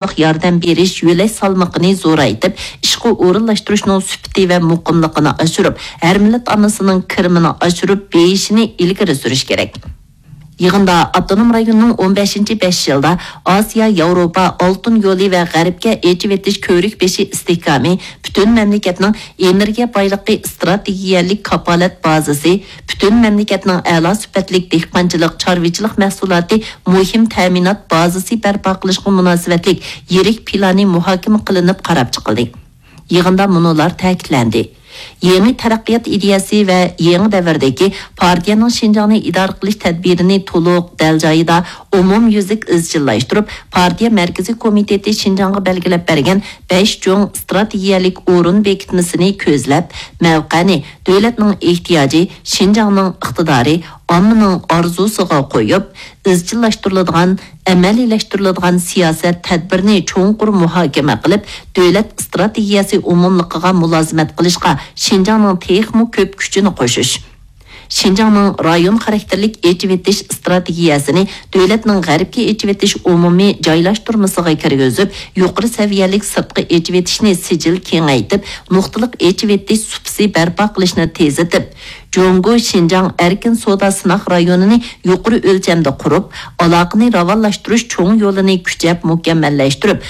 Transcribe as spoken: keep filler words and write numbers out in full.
ياردەم بېرىش يۆلەش سالمىقىنى زورايتىپ، ئىشقا ئورۇنلاشتۇرۇشنىڭ سۈپىتى ۋە مۇقىملىقىنى ئاشۇرۇپ، ھەر مىللەت ئاممىسىنىڭ كىرىمىنى ئاشۇرۇپ بېيىشىنى ئىلگىرى سۈرۈش كېرەك. يىغىندا ئاپتونوم رايوننىڭ ئون بەشىنچى بەش يىلدا ئاسىيا ياۋروپا ئالتۇن يولى ۋە غەربكە ئېچىۋېتىش كۆۋرۈك بېشى ئىستىھكامى پۈتۈن مەملىكەتنىڭ ئېنېرگىيە بايلىقى ئىستراتېگىيەلىك كاپالەت بازىسى، پۈتۈن مەملىكەتنىڭ ئەلا سۈپەتلىك دېھقانچىلىق، چارۋىچىلىق مەھسۇلاتى مۇھىم تەمىنات بازىسى بەرپا قىلىشقا مۇناسىۋەتلىك يىرىك پىلانى مۇھاكىمە قىلىنىپ قاراپ چىقىلدى. يىغىندا مۇنۇلار تەكىتلەندى. يېڭى تەرەققىيات ئىدىيەسى ۋە يېڭى دەۋردىكى پارتىيەنىڭ شىنجاڭنى ئىدارە قىلىش تەدبىرىنى تولۇق، دەل جايىدا، ئومۇميۈزلۈك ئىزچىللاشتۇرۇپ، پارتىيە مەركىزىي كومىتېتى شىنجاڭغا بەلگىلەپ بەرگەن بەش چوڭ ئىستراتېگىيەلىك ئورۇن بېكىتمىسىنى كۆزلەپ، مەۋقەنى دۆلەتنىڭ ئېھتىياجى، شىنجاڭنىڭ ئىقتىدارى، ئاممىنىڭ ئارزۇسىغا قويۇپ، ئىزچىللاشتۇرۇلىدىغان، ئەمەلىيلەشتۈرۈلىدىغان سىياسەت تەدبىرىنى چوڭقۇر مۇھاكىمە قىلىپ، دۆلەت ئىستراتېگىيەسى ئومۇملۇقىغا مۇلازىمەت قىلىشقا شىنجاڭنىڭ تېخىمۇ كۆپ كۈچىنى قوشۇش، شىنجاڭنىڭ رايون خاراكتېرلىك ئېچىۋېتىش ئىستراتېگىيەسىنى دۆلەتنىڭ غەربكە ئېچىۋېتىش ئومۇمىي جايلاشتۇرمىسىغا كىرگۈزۈپ، يۇقىرى سەۋىيەلىك سىرتقى ئېچىۋېتىشنى سىجىل كېڭەيتىپ، نۇقتىلىق ئېچىۋېتىش سۇپىسى بەرپا قىلىشنى تېزلىتىپ، جۇڭگو شىنجاڭ ئەركىن سودا سىناق رايونىنى يۇقىرى ئۆلچەمدە قۇرۇپ، ئالاقىنى راۋانلاشتۇرۇش چوڭ يولىنى كۈچەپ مۇكەممەللەشتۈرۈپ،